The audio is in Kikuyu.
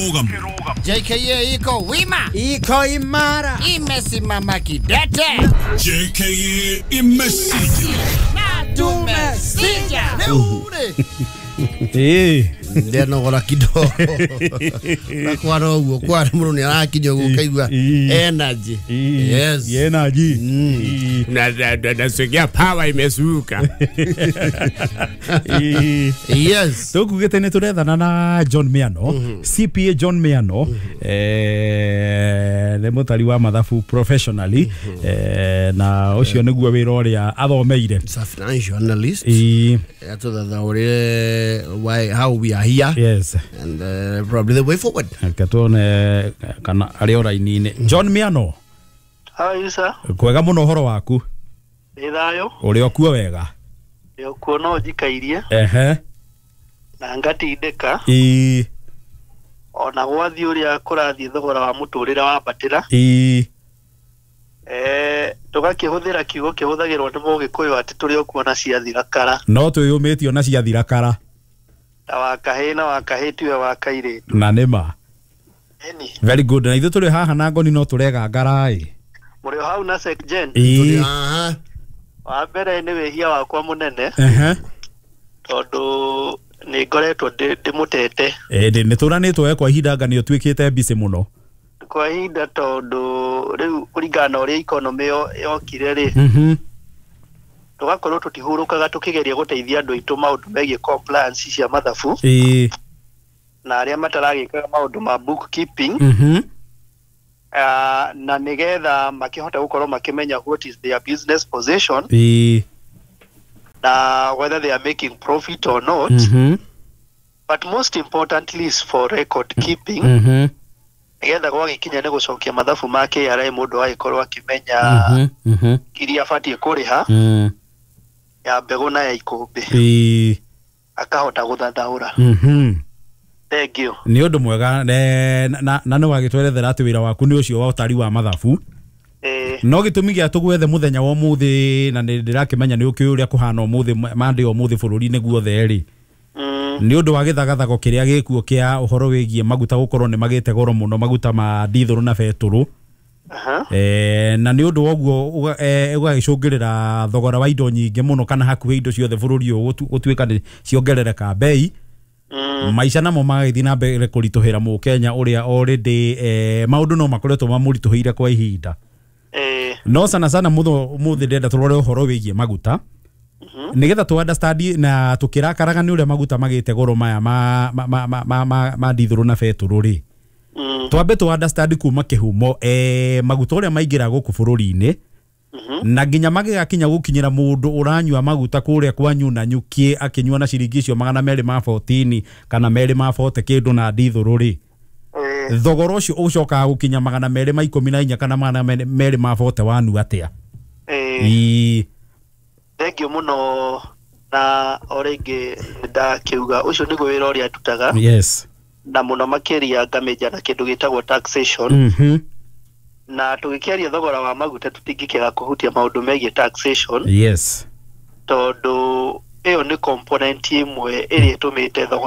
Kĩrũgamo. JKA iko wima, iko imara, imesimama kidete. JKA imesija. Na tumesija. Rĩu rĩ Ndenogora kidogo na kwara ũguo kwara mũndũ nĩ arakinya ũguo ũkaigua energy. Yes. Energy. Nasikia power imesuka. Yes. Tũkugĩte nĩ tũrethana na John Miano, CPA John Miano, nĩ mũtari wa mathabu professionally, na ũcio nĩguo wĩra ũrĩa athomeire. It's a financial analyst. Atũthathaũrĩre why, how we are here and probably the way forward. Reke tuone kana arĩ o raini-inĩ. John Miano. How are you, sir? Kwega mũno, ũhoro waku? Nĩ thayũ. Ũrĩ o kuo wega? Nĩ ũkuo no njikairie na ngatindĩka ona gwathiĩ ũrĩa kũrathiĩ thogora wa mũtũrĩre wambatĩra. Tũgakĩhũthĩra kiugo kĩhũthagĩrwo nĩ Mũgĩkũyũ atĩ tũrĩ o kuo na ciathira kara. No twĩyũmĩtio na ciathira kara. Ta wa kahĩĩ na wa kahĩĩ tiwe wa kairĩtu. Na nĩma. Ĩni. Very good. Na ithuĩ tũrĩ haha na ngoni no tũregangara ĩ. Mũrĩ o hau na Secgen. Aha. Wa mbere nĩ wĩhia wakwa mũnene tondũ nĩ ngoretwo ndĩmũtete. Nĩ tũranĩtwo we kwa ihinda anga nĩ ũtuĩkĩte busy mũno. Kwa ihinda tondũ rĩu kũringana na ũrĩa economy yokire rĩ, tũgakorwo tũtihurũkaga tũkĩgeria gũteithia andũ aitũ maũndũ megiĩ compliance cia mathabu na arĩa mataragĩkaga maũndũ ma bookkeeping, na nĩgetha makĩhote gũkorwo makĩmenya what is their business position na whether they are making profit or not, but most importantly is for record keeping, nĩgetha gwagĩkinya nĩ gũcokia mathabu ma KRA mũndũ agĩkorwo akĩmenya iria abatiĩ kũrĩha ya mbegũ na ya ikũmbĩ, akahota gũthathaũra. Thank you. Nĩ ũndũ mwega na nĩ wagĩtwerethera atĩ wĩra waku nĩ ũcio wa ũtari wa mathabu. No gĩtũmi gĩa tũgwethe mũthenya wa ũmũthĩ, na nĩ ndĩrakĩmenya nĩ ũkĩũĩ ũrĩa kũhana ũmũthĩ Monday ũmũthĩ bũrũri-inĩ guothe rĩ, nĩ ũndũ wa gĩthagathago kĩrĩa gĩkuo kĩa ũhoro wĩgiĩ maguta gũkorwo nĩ magĩte goro mũno, maguta ma dithũrũ na betũrũ. Na nĩ ũndũ wa ũguo ũgagĩcũngĩrĩra thogora wa indo nyingĩ mũno, kana hakuhĩ indo ciothe bũrũri ũyũ gũtuĩka nĩ ciongerereka bei. Maica namo magagĩthiĩ na mbere kũritũhĩra mũkenya ũrĩa already maũndũ no makoretwo mamũritũhĩire kwa ihinda. No sana sana mũthĩ ndĩrenda tũrore ũhoro wĩgiĩ maguta, nĩgetha tũ understand na tũkĩrakaraga nĩ ũrĩa maguta magĩte goro maya ma dithũrũ na betũrũ rĩ, twambe tũ understand kuma kĩhumo, maguta ũrĩa maingĩra gũkũ bũrũri-inĩ na nginya magĩgakinya gũkinyĩra mũndũ ũranyua maguta kũrĩa kwanyu na nyuki akĩnyua na ciringi icio 214 kana 240 kĩndũ na dithũrũ rĩ, thogora ũcio ũcokaga gũkinya 214 kana 240 wanu atĩa? Thank you mũno, na o rĩngĩ nĩndakiuga ũcio nĩguo wĩra ũrĩa ndutaga. Na mũno makĩria ngamĩnja na kĩndũ gĩtagwo taxation. Na tũgĩkĩaria thogora wa maguta tũtingĩkĩaga kũhutia maũndũ megiĩ taxation. Tondũ ĩyo nĩ component ĩmwe ĩrĩa ĩtũmĩte thogora